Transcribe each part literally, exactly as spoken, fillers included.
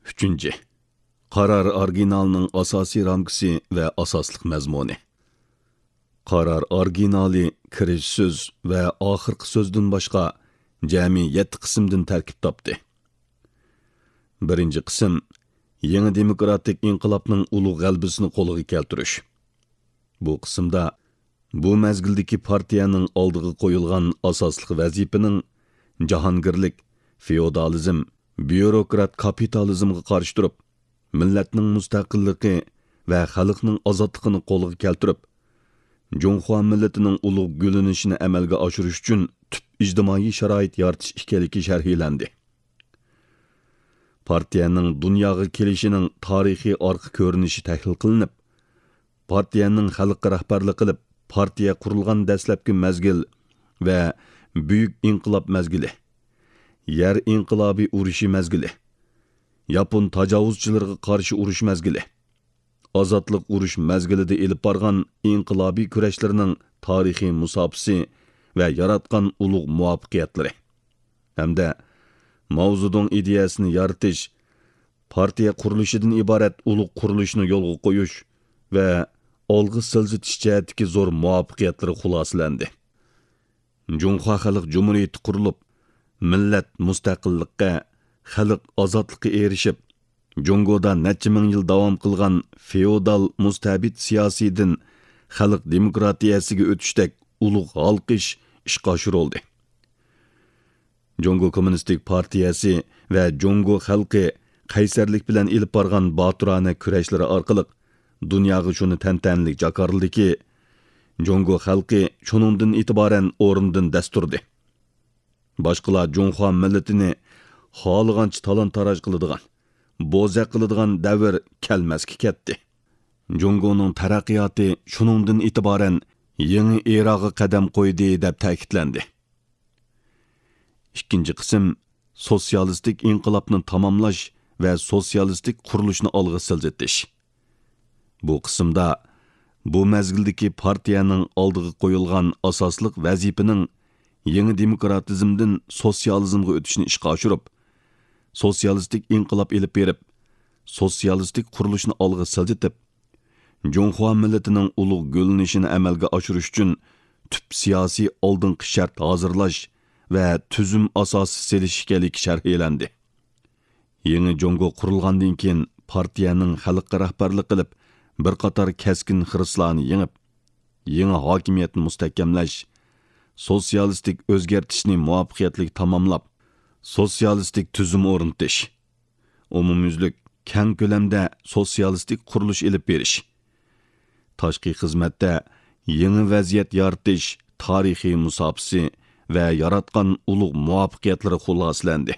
ئۈچىنچى، قارار ئورىگىنالىنىڭ ئاساسىي رامكىسى ۋە ئاساسلىق مەزمۇنى. قارار ئورىگىنالى كىرىش سۆز ۋە ئاخىرقى سۆزدىن باشقا جەمئىي يەتتە قىسىمدىن تەركىب تاپتى. بىرىنچى قىسىم، يېڭى دېموكراتىك ئىنقىلابنىڭ ئۇلۇغ غەلىبىسىنى قولغا كەلتۈرۈش. بۇ قىسىمدا بۇ مەزگىلدىكى پارتىيەنىڭ ئالدىغا قويۇلغان ئاساسلىق ۋەزىپىنىڭ جاھانگىرلىك، فېئودالىزم، بيۇروكرات كاپىتالىزمغا قارشى تۇرۇپ، مىللەتنىڭ مۇستەقىللىقى ۋە خەلقنىڭ ئازادلىقىنى قولغا كەلتۈرۈپ، جۇڭخۇا مىللىتىنىڭ ئۇلۇغ گۈللىنىشىنى ئەمەلگە ئاشۇرۇش ئۈچۈن تۈپ ئىجتىمائىي شارائىت يارىتىش ئىكەنلىكى شەرھلەندى. پارتىيەنىڭ دۇنياغا كېلىشىنىڭ تارىخىي ئارقا كۆرۈنۈشى تەھلىل قىلىنىپ، پارتىيەنىڭ خەلققە رەھبەرلىك قىلىپ، پارتىيە قۇرۇلغان دەسلەپكى مەزگىل ۋە بۈيۈك ئىنقىلاب مەزگىلى، يەر ئىنقىلابى ئۇرۇشى مەزگىلى، ياپون تاجاۋۇزچىلىرىغا قارشى ئۇرۇش مەزگىلى، ئازادلىق ئۇرۇش مەزگىلىدە ئېلىپ بارغان ئىنقىلابىي كۈرەشلىرىنىڭ تارىخىي مۇساپىسى ۋە ياراتقان ئۇلۇغ مۇۋەپپەقىيەتلىرى ھەمدە ماۋزېدۇڭ ئىدىيەسىنى يارىتىش، پارتىيە قۇرۇلۇشىدىن ئىبارەت ئۇلۇغ قۇرۇلۇشنى يولغا قويۇش ۋە ئالغا سىلجىتىش جەھەتتىكى زور مۇۋەپپەقىيەتلىرى خۇلاسىلەندى. جۇڭخۇا خەلق جۇمھۇرىيىتى قۇرۇلۇپ، مىللەت مۇستەقىللىققا، خەلق ئازادلىققا ئېرىشىپ، جۇڭگودا نەچچە مىڭ يىل داۋام قىلغان فېئودال مۇستەبىت سىياسىيدىن خەلق دېموكراتىيەسىگە ئۆتۈشتەك ئۇلۇغ ھالقىش ئىشقا ئاشۇرۇلدى. جۇڭگو كوممۇنىستىك پارتىيەسى ۋە جۇڭگو خەلقى قەيسەرلىك بىلەن ئېلىپ بارغان باتۇرانە كۈرەشلىرى ئارقىلىق دۇنياغا شۇنى تەنتەنىلىك جاكارلىدىكى، جۇڭگو خەلقى شۇنىڭدىن ئېتىبارەن ئورنىدىن دەس تۇردى. باشقىلار جۇڭخۇا مىللىتىنى خالىغانچە تالان-تاراج قىلىدىغان، بوزەك قىلىدىغان دەۋر كەلمەسكە كەتتى. جۇڭگونىڭ تەرەققىياتى شۇنىڭدىن ئېتىبارەن يېڭى ئېراغا قەدەم قويدى، دەپ تەكىتلەندى. ئىككىنچى قىسىم، سوتسىيالىستىك ئىنقىلابنى تاماملاش ۋە سوتسىيالىستىك قۇرۇلۇشنى ئالغا سىلجىتىش. بۇ قىسىمدا بۇ مەزگىلدىكى پارتىيەنىڭ ئالدىغا قويۇلغان ئاساسلىق ۋەزىپىنىڭ يېڭى دېموكراتىزمدىن سوتسىيالىزمغا ئۆتۈشنى ئىشقا ئاشۇرۇپ، سوتسىيالىستىك ئىنقىلاب ئېلىپ بېرىپ، سوتسىيالىستىك قۇرۇلۇشنى ئالغا سىلجىتىپ، جۇڭخۇا مىللىتىنىڭ ئۇلۇغ گۈللىنىشىنى ئەمەلگە ئاشۇرۇش ئۈچۈن تۈپ سىياسىي ئالدىنقى شەرت ھازىرلاش ۋە تۈزۈم ئاساسى سېلىش ئىكەنلىكى شەرھلەندى. يېڭى جۇڭگو قۇرۇلغاندىن كېيىن، پارتىيەنىڭ خەلققە رەھبەرلىك قىلىپ، بىر قاتار كەسكىن خىرىسلارنى يېڭىپ، يېڭى ھاكىمىيەتنى مۇستەھكەملەش، سوتسىيالىستىك ئۆزگەرتىشنى مۇۋەپپەقىيەتلىك تاماملاپ، سوتسىيالىستىك تۈزۈم ئورنىتىش، ئومۇميۈزلۈك كەڭ كۆلەمدە سوتسىيالىستىك قۇرۇلۇش ئېلىپ بېرىش، تاشقى خىزمەتتە يېڭى ۋەزىيەت يارىتىش تارىخىي مۇساپىسى ۋە ياراتقان ئۇلۇغ مۇۋەپپەقىيەتلىرى خۇلاسىلەندى.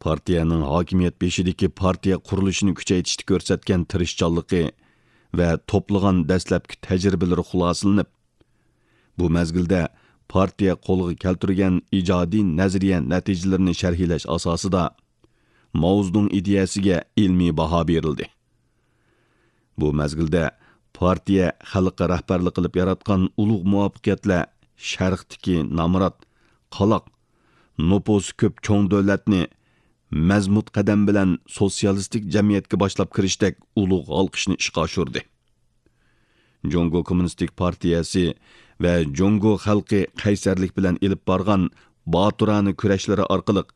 پارتىيەنىڭ ھاكىمىيەت بېشىدىكى پارتىيە قۇرۇلۇشىنى كۈچەيتىشتە كۆرسەتكەن تىرىشچانلىقى ۋە توپلىغان دەسلەپكى تەجرىبىلىرى خۇلاسىلىنىپ، بۇ مەزگىلدە پارتىيە قولغا كەلتۈرگەن ئىجادىي نەزەرىيە نەتىجىلىرىنى شەرھلەش ئاساسىدا، ماۋزېدۇڭ ئىدىيەسىگە ئىلمىي باھا بېرىلدى. بۇ مەزگىلدە پارتىيە خەلققە رەھبەرلىك قىلىپ ياراتقان ئۇلۇغ مۇۋەپپەقىيەتلەر شەرقتىكى نامرات، قالاق، نوپۇسى كۆپ چوڭ دۆلەتنى مەزمۇت قەدەم بىلەن سوتسىيالىستىك جەمئىيەتكە باشلاپ كىرىشتەك ئۇلۇغ ھالقىشنى ئىشقا ئاشۇردى. جۇڭگو كوممۇنىستىك پارتىيەسى ۋە جۇڭگو خەلقى قەيسەرلىك بىلەن ئېلىپ بارغان باتۇرانە كۈرەشلىرى ئارقىلىق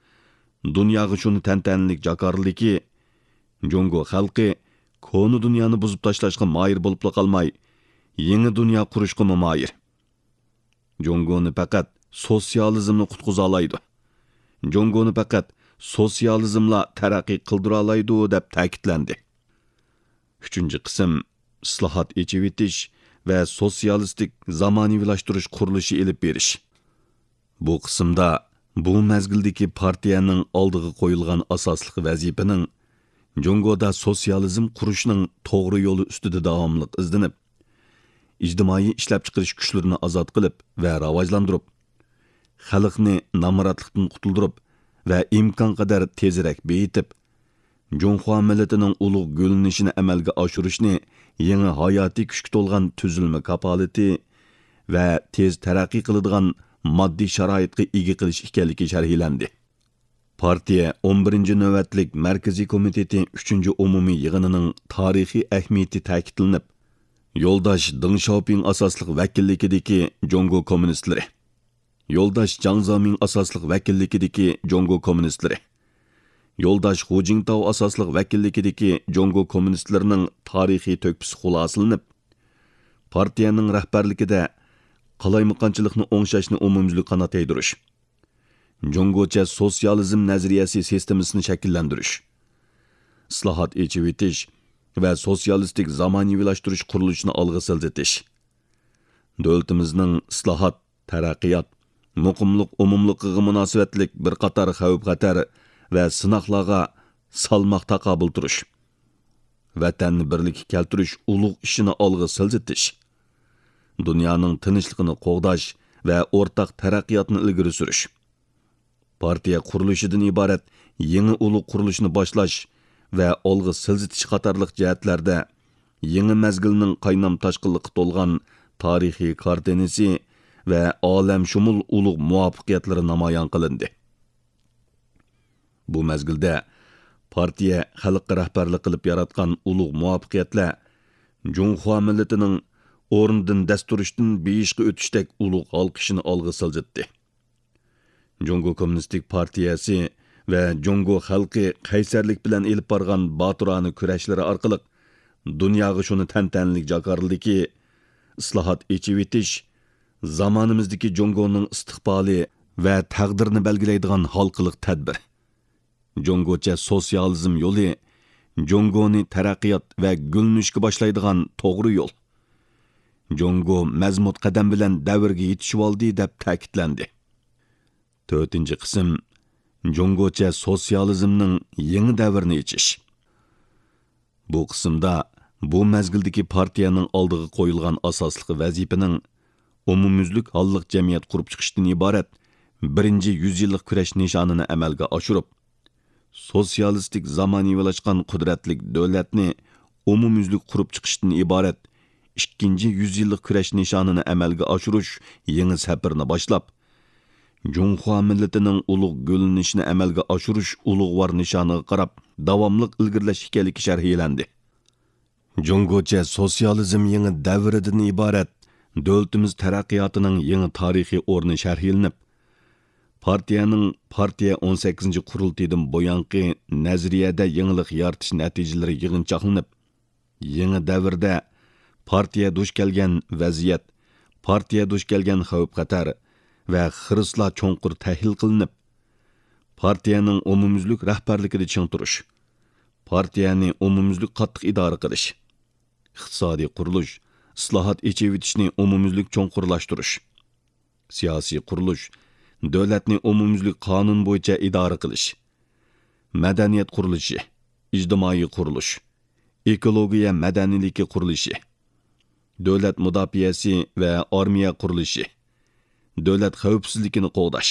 دۇنياغا شۇنى تەنتەنىلىك جاكارلىدىكى، جۇڭگو خەلقى كونا دۇنيانى بۇزۇپ تاشلاشقا ماھىر بولۇپلا قالماي، يېڭى دۇنيا قۇرۇشقىمۇ ماھىر. جۇڭگونى پەقەت سوتسىيالىزملا قۇتقۇزالايدۇ. جۇڭگونى پەقەت سوتسىيالىزملا تەرەققىي قىلدۇرالايدۇ، دەپ تەكىتلەندى. ئۈچىنچى قىسىم، ئىسلاھات، ئېچىۋېتىش ۋە سوتسىيالىستىك زامانىۋىلاشتۇرۇش قۇرۇلۇشى ئېلىپ بېرىش. بۇ قىسىمدا بۇ مەزگىلدىكى پارتىيەنىڭ ئالدىغا قويۇلغان ئاساسلىق ۋەزىپىنىڭ جۇڭگودا سوتسىيالىزم قۇرۇشنىڭ توغرا يولى ئۈستىدە داۋاملىق ئىزدىنىپ، ئىجتىمائىي ئىشلەپچىقىرىش كۈچلىرىنى ئازاد قىلىپ ۋە راۋاجلاندۇرۇپ، خەلقنى نامراتلىقتىن قۇتۇلدۇرۇپ ۋە ئىمكانقەدەر تېزرەك بېيىتىپ، جۇڭخۇا مىللىتىنىڭ ئۇلۇغ گۈللىنىشىنى ئەمەلگە ئاشۇرۇشنى يېڭى ھاياتىي كۈچكە تولغان تۈزۈلمە كاپالىتى ۋە تېز تەرەققىي قىلىدىغان ماددىي شارائىتقا ئىگە قىلىش ئىكەنلىكى شەرھلەندى. پارتىيە ئون بىرىنچى نۆۋەتلىك مەركىزىي كومىتېتى ئۈچىنچى ئومۇمىي يىغىنىنىڭ تارىخىي ئەھمىيىتى تەكىتلىنىپ، يولداش دېڭ شياۋپىڭ ئاساسلىق ۋەكىللىكىدىكى جۇڭگو كوممۇنىستلىرى، يولداش جاڭ زېمىڭ ئاساسلىق ۋەكىللىكىدىكى جۇڭگو كوممۇنىستلىرى، يولداش خۇ جىڭتاۋ ئاساسلىق ۋەكىللىكىدىكى جۇڭگو كوممۇنىستلىرىنىڭ تارىخىي تۆھپىسى خۇلاسىلىنىپ، پارتىيەنىڭ رەھبەرلىكىدە قالايمىقانچىلىقنى ئوڭشاشنى ئومۇميۈزلۈك قانات يايدۇرۇش، جۇڭگوچە سوتسىيالىزم نەزەرىيەسى سىستېمىسىنى شەكىللەندۈرۈش، ئىسلاھات، ئېچىۋېتىش ۋە سوتسىيالىستىك زامانىۋىلاشتۇرۇش قۇرۇلۇشىنى ئالغا سىلجىتىش، دۆلىتىمىزنىڭ ئىسلاھات، تەرەققىيات، مۇقىملىق ئومۇملۇقىغا مۇناسىۋەتلىك بىر قاتار خەۋپ-خەتەر ۋە سىناقلارغا سالماق تاقابىل تۇرۇش، ۋەتەننى بىرلىككە كەلتۈرۈش ئۇلۇغ ئىشىنى ئالغا سىلجىتىش، دۇنيانىڭ تىنچلىقىنى قوغداش ۋە ئورتاق تەرەققىياتنى ئىلگىرى سۈرۈش، پارتىيە قۇرۇلۇشىدىن ئىبارەت يېڭى ئۇلۇغ قۇرۇلۇشىنى باشلاش ۋە ئالغا سىلجىتىش قاتارلىق جەھەتلەردە يېڭى مەزگىلنىڭ قاينام-تاشقىنلىققا تولغان تارىخىي كارتىنىسى ۋە ئالەمشۇمۇل ئۇلۇغ مۇۋەپپەقىيەتلىرى نامايان قىلىندى. بۇ مەزگىلدە پارتىيە خەلققە رەھبەرلىك قىلىپ ياراتقان ئۇلۇغ مۇۋەپپەقىيەتلەر جۇڭخۇا مىللىتىنىڭ ئورنىدىن دەس تۇرۇشتىن بېيىشقا ئۆتۈشتەك ئۇلۇغ ھالقىشىنى ئالغا سىلجىتتى. جۇڭگو كوممۇنىستىك پارتىيەسى ۋە جۇڭگو خەلقى قەيسەرلىك بىلەن ئېلىپ بارغان باتۇرانە كۈرەشلىرى ئارقىلىق دۇنياغا شۇنى تەنتەنىلىك جاكارلىدىكى، ئىسلاھات، ئېچىۋېتىش زامانىمىزدىكى جۇڭگونىڭ ئىستىقبالى ۋە تەقدىرىنى بەلگىلەيدىغان ھالقىلىق تەدبىر. جۇڭگوچە سوتسىيالىزم يولى جۇڭگونى تەرەققىيات ۋە گۈللىنىشكە باشلايدىغان توغرا يول. جۇڭگو مەزمۇت قەدەم بىلەن دەۋرگە يېتىشىۋالدى، دەپ تەكىتلەندى. تۆتىنچى قىسىم، جۇڭگوچە سوتسىيالىزمنىڭ يېڭى دەۋرىنى ئېچىش. بۇ قىسىمدا بۇ مەزگىلدىكى پارتىيەنىڭ ئالدىغا قويۇلغان ئاساسلىق ۋەزىپىنىڭ ئومۇميۈزلۈك ھاللىق جەمئىيەت قۇرۇپ چىقىشتىن ئىبارەت بىرىنچى يۈز يىللىق كۈرەش نىشانىنى ئەمەلگە ئاشۇرۇپ، سوتسىيالىستىك زامانىۋىلاشقان قۇدرەتلىك دۆلەتنى ئومۇميۈزلۈك قۇرۇپ چىقىشتىن ئىبارەت ئىككىنچى يۈز يىللىق كۈرەش نىشانىنى ئەمەلگە ئاشۇرۇش يېڭى سەپىرىنى باشلاپ، جۇڭخۇا مىللىتىنىڭ ئۇلۇغ گۈللىنىشىنى ئەمەلگە ئاشۇرۇش ئۇلۇغۋار نىشانىغا قاراپ داۋاملىق ئىلگىرىلەش ئىكەنلىكى شەرھلەندى. جۇڭگوچە سوتسىيالىزم يېڭى دەۋرىدىن ئىبارەت دۆلىتىمىز تەرەققىياتىنىڭ يېڭى تارىخىي ئورنى شەرھلىنىپ، پارتىيەنىڭ پارتىيە ئون سەككىزىنچى قۇرۇلتىيىدىن بۇيانقى نەزەرىيەدە يېڭىلىق يارىتىش نەتىجىلىرى يىغىنچاقلىنىپ، يېڭى دەۋردە پارتىيە دۇچ كەلگەن ۋەزىيەت، پارتىيە دۇچ كەلگەن خەۋپ-خەتەر ۋە خىرىسلار چوڭقۇر تەھلىل قىلىنىپ، پارتىيەنىڭ ئومۇميۈزلۈك رەھبەرلىكىدە چىڭ تۇرۇش، پارتىيەنى ئومۇميۈزلۈك قاتتىق ئىدارە قىلىش، ئىقتىسادىي قۇرۇلۇش، ئىسلاھات، ئېچىۋېتىشنى ئومۇميۈزلۈك چوڭقۇرلاشتۇرۇش، سىياسىي قۇرۇلۇش، دۆلەتنى ئومۇميۈزلۈك قانۇن بويىچە ئىدارە قىلىش، مەدەنىيەت قۇرۇلۇشى، ئىجتىمائىي قۇرۇلۇش، ئېكولوگىيە مەدەنىيلىكى قۇرۇلۇشى، دۆلەت مۇداپىئەسى ۋە ئارمىيە قۇرۇلۇشى، دۆلەت خەۋپسىزلىكىنى قوغداش،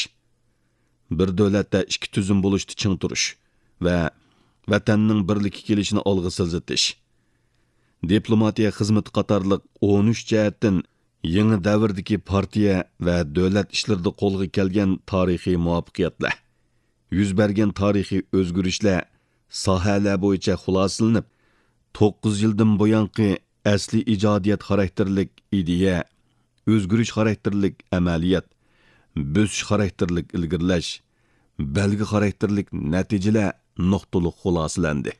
بىر دۆلەتتە ئىككى تۈزۈم بولۇشتا چىڭ تۇرۇش ۋە ۋەتەننىڭ بىرلىككە كېلىشىنى ئالغا سىلجىتىش، دىپلوماتىيە خىزمىتى قاتارلىق ئون ئۈچ جەھەتتىن يېڭى دەۋردىكى پارتىيە ۋە دۆلەت ئىشلىرىدا قولغا كەلگەن تارىخىي مۇۋەپپەقىيەتلەر، يۈز بەرگەن تارىخىي ئۆزگىرىشلەر ساھەلەر بويىچە خۇلاسىلىنىپ، توققۇز يىلدىن بۇيانقى ئەسلىي ئىجادىيەت خاراكتېرلىك ئىدىيە، ئۆزگىرىش خاراكتېرلىك ئەمەلىيەت، بۆسۈش خاراكتېرلىك ئىلگىرىلەش، بەلگە خاراكتېرلىك نەتىجىلەر نۇقتىلىق خۇلاسىلەندى.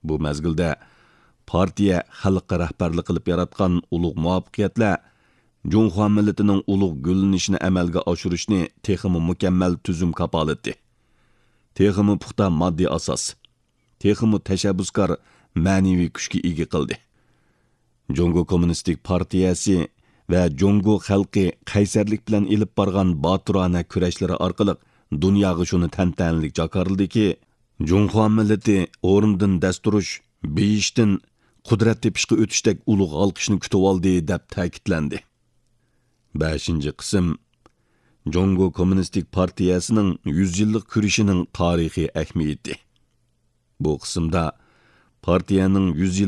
بۇ مەزگىلدە پارتىيە خەلققە رەھبەرلىك قىلىپ ياراتقان ئۇلۇغ مۇۋەپپەقىيەتلەر جۇڭخۇا مىللىتىنىڭ ئۇلۇغ گۈللىنىشىنى ئەمەلگە ئاشۇرۇشنى تېخىمۇ مۇكەممەل تۈزۈم كاپالىتى، تېخىمۇ پۇختا ماددىي ئاساس، تېخىمۇ تەشەببۇسكار مەنىۋى كۈچكە ئىگە قىلدى. جۇڭگو كوممۇنىستىك پارتىيەسى ۋە جۇڭگو خەلقى قەيسەرلىك بىلەن ئېلىپ بارغان باتۇرانە كۈرەشلىرى ئارقىلىق دۇنياغا شۇنى تەنتەنىلىك جاكارلىدىكى، جۇڭخۇا مىللىتى ئورنىدىن دەس تۇرۇش، بېيىشتىن قۇدرەت تېپىشقا ئۆتۈشتەك ئۇلۇغ ھالقىشنى كۈتۈۋالدى، دەپ تەكىتلەندى. بەشىنچى قىسىم، جۇڭگو كوممۇنىستىك پارتىيەسىنىڭ يۈز يىللىق كۈرىشىنىڭ تارىخىي ئەھمىيىتى. بۇ قىسىمدا پارتىيەنىڭ يۈز